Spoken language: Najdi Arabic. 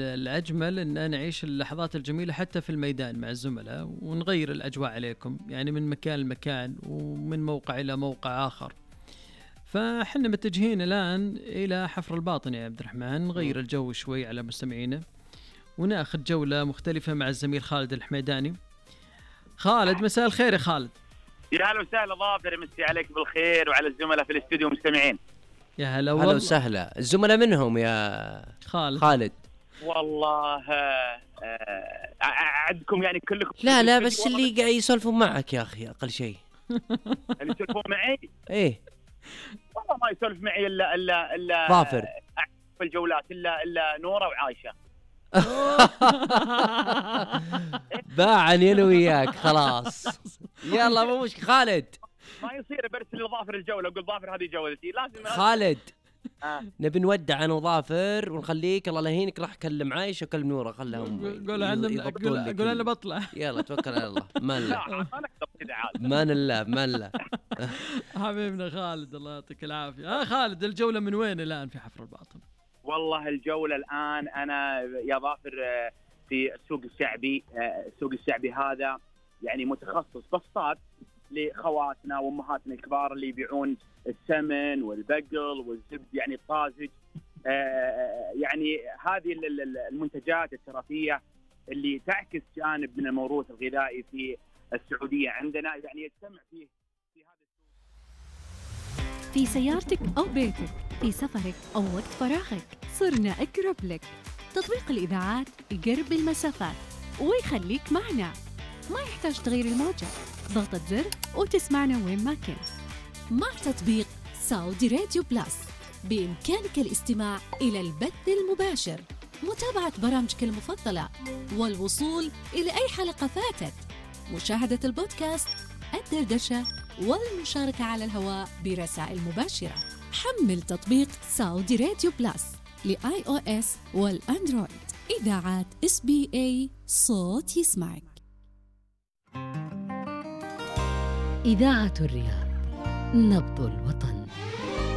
الأجمل أن نعيش اللحظات الجميلة حتى في الميدان مع الزملاء، ونغير الأجواء عليكم يعني من مكان لمكان ومن موقع إلى موقع آخر. فحنا متجهين الآن إلى حفر الباطن يا عبد الرحمن، نغير الجو شوي على مستمعينا وناخذ جولة مختلفة مع الزميل خالد الحميداني. خالد، مساء الخير يا خالد. يا هلا وسهلا ظافر، مسي عليك بالخير وعلى الزملاء في الاستوديو مستمعين. يا هلا وسهلا. الزملاء منهم يا خالد؟ والله عندكم يعني كلكم؟ لا بس اللي قاعد يسولفون معك يا أخي أقل شيء. اللي يسولفون معي؟ إيه والله ما يسولف معي إلا ظافر في الجولات إلا نورة وعايشة. باعني أنا وياك خلاص. يلا مو مشكلة خالد، ما يصير برسل لظافر الجولة وقل ظافر هذه جولتي، لازم خالد. نبي نودع أنا وظافر ونخليك الله لهينك، راح أكلم عايشة وكلم نورة، خلهم قول أنا بطلع. يلا توكل على الله. مان الله حبيبنا خالد، الله يعطيك العافية. خالد، الجولة من وين الآن في حفر الباطن؟ والله الجولة الآن أنا يا ظافر في السوق الشعبي. السوق الشعبي هذا يعني متخصص بسطات لخواتنا وأمهاتنا الكبار اللي يبيعون السمن والبقل والزبد يعني الطازج. يعني هذه المنتجات التراثية اللي تعكس جانب من الموروث الغذائي في السعودية عندنا، يعني يجتمع فيه في هذا السوق. في سيارتك أو بيتك، في سفرك أو وقت فراغك، صرنا أقرب لك. تطبيق الإذاعات يقرب المسافات ويخليك معنا، ما يحتاج تغير الموجة، ضغطة زر وتسمعنا وين ما كنت. مع تطبيق سعودي راديو بلاس بإمكانك الاستماع إلى البث المباشر، متابعة برامجك المفضلة، والوصول إلى أي حلقة فاتت، مشاهدة البودكاست، الدردشة، والمشاركة على الهواء برسائل مباشرة. حمل تطبيق سعودي راديو بلاس لآي أو إس والأندرويد. إذاعات SBA، صوت يسمعك. إذاعة الرياض، نبض الوطن.